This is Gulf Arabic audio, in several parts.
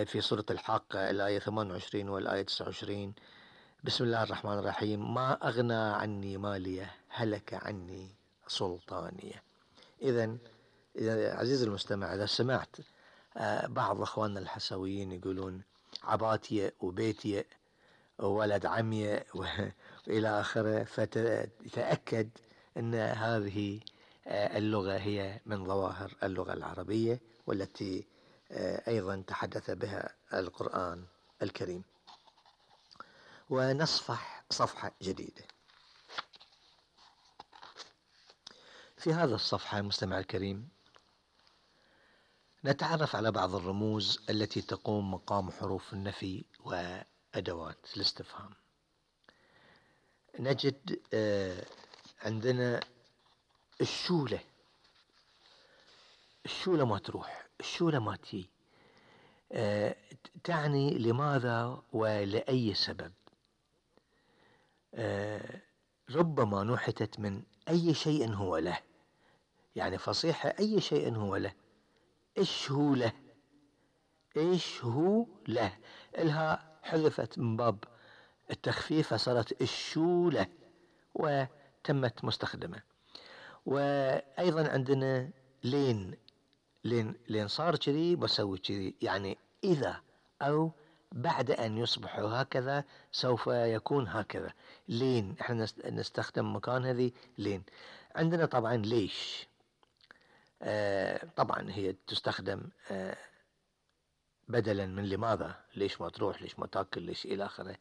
في سورة الحاقة الآية 28 والآية 29. بسم الله الرحمن الرحيم. ما أغنى عني مالية هلك عني سلطانية. إذن عزيزي المستمع، إذا سمعت بعض أخواننا الحسويين يقولون عباتية وبيتية وولد عمية وإلى آخره، فتأكد أن هذه اللغة هي من ظواهر اللغة العربية، والتي أيضا تحدث بها القرآن الكريم. ونصفح صفحة جديدة. في هذا الصفحة مستمع الكريم نتعرف على بعض الرموز التي تقوم مقام حروف النفي وأدوات الاستفهام. نجد عندنا الشولة. الشولة ما تروح، الشولة ما تجي، تعني لماذا ولأي سبب. ربما نحتت من أي شيء هو له، يعني فصيحة أي شيء هو له. إيش هو له، إيش هو له، إلها حذفت من باب التخفيف فصارت الشولة وتمت مستخدمة. وأيضا عندنا لين صار كذي بسوي كذي، يعني إذا أو بعد أن يصبح هكذا سوف يكون هكذا. لين احنا نستخدم مكان هذه لين. عندنا طبعا ليش. طبعا هي تستخدم بدلا من لماذا. ليش ما تروح، ليش ما تاكل، ليش إلى آخره.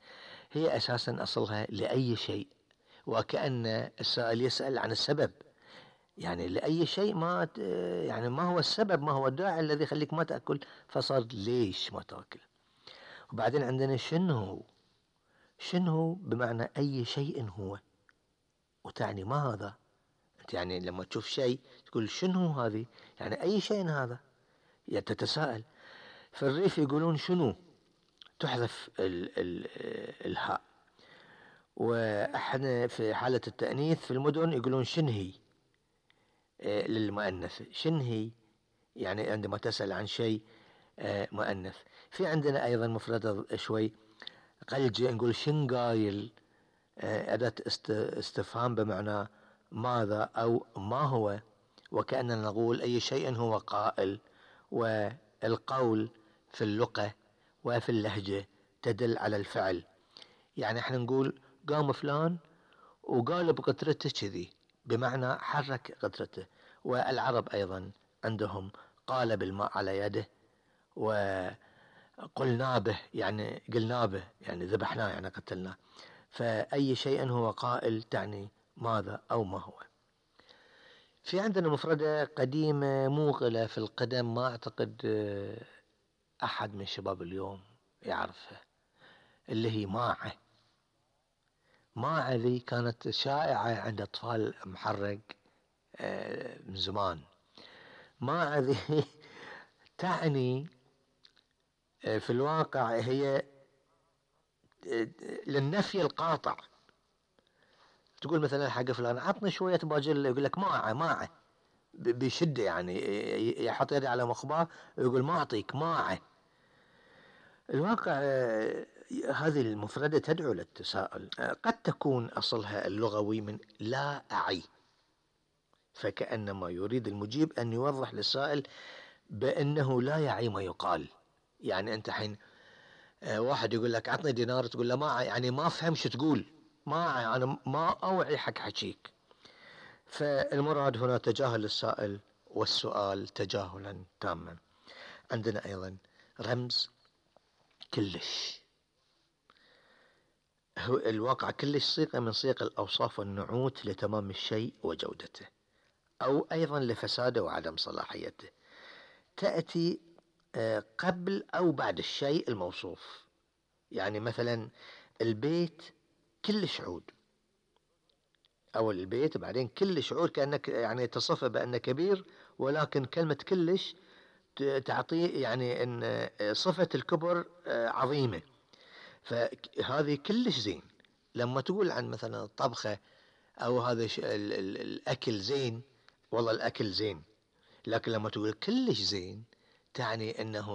هي أساسا أصلها لأي شيء، وكأن السائل يسأل عن السبب، يعني لأي شيء ما يعني ما هو السبب، ما هو الداعي الذي يخليك ما تأكل، فصار ليش ما تأكل. وبعدين عندنا شنو. شنو بمعنى أي شيء هو، وتعني ما هذا. أنت يعني لما تشوف شيء تقول شنو هذه، يعني أي شيء هذا، يعني تتساءل. في الريف يقولون شنو، تحذف الهاء. وإحنا في حالة التأنيث في المدن يقولون شنهي للمؤنث. شنهي يعني عندما تسأل عن شيء مؤنث. في عندنا أيضا مفردة شوي قلجة، نقول شنقايل، أداة استفهام بمعنى ماذا أو ما هو، وكأننا نقول أي شيء هو قائل. والقول في اللغة وفي اللهجة تدل على الفعل، يعني احنا نقول قام فلان وقال بقطرته كذي، بمعنى حرك قطرته. والعرب أيضا عندهم قال بالماء على يده، وقلنا به يعني قلنا به يعني ذبحناه يعني قتلناه. فأي شيء هو قائل تعني ماذا أو ما هو. في عندنا مفردة قديمة موغلة في القدم، ما أعتقد أحد من شباب اليوم يعرفها، اللي هي ماعة. ماعة ذي كانت شائعة عند أطفال محرق من زمان. ماعة ذي تعني في الواقع هي للنفي القاطع. تقول مثلا حق فلان عطني شوية باجل، يقول لك ماعة بشدة، يعني يحط يدي على مخباه ويقول ما أعطيك ماعة. الواقع هذه المفردة تدعو للتساؤل. قد تكون أصلها اللغوي من لا أعي، فكأنما يريد المجيب أن يوضح للسائل بأنه لا يعي ما يقال. يعني أنت حين واحد يقول لك عطني دينار، تقول له ما يعني ما أفهم شو تقول، ما أنا ما أوعي حق حكيك. فالمراد هنا تجاهل السائل والسؤال تجاهلا تاما. عندنا أيضا رمز كلش. هو الواقع كلش صيغة من صيغ الأوصاف والنعوت لتمام الشيء وجودته، أو أيضا لفساده وعدم صلاحيته. تأتي قبل أو بعد الشيء الموصوف. يعني مثلا البيت كلش عود، أو البيت بعدين كلش عود، كأنك يعني تصفه بأنه كبير، ولكن كلمة كلش تعطيه يعني أن صفة الكبر عظيمة. فهذه كلش زين. لما تقول عن مثلا الطبخة أو هذا الأكل زين، والله الأكل زين. لكن لما تقول كلش زين تعني أنه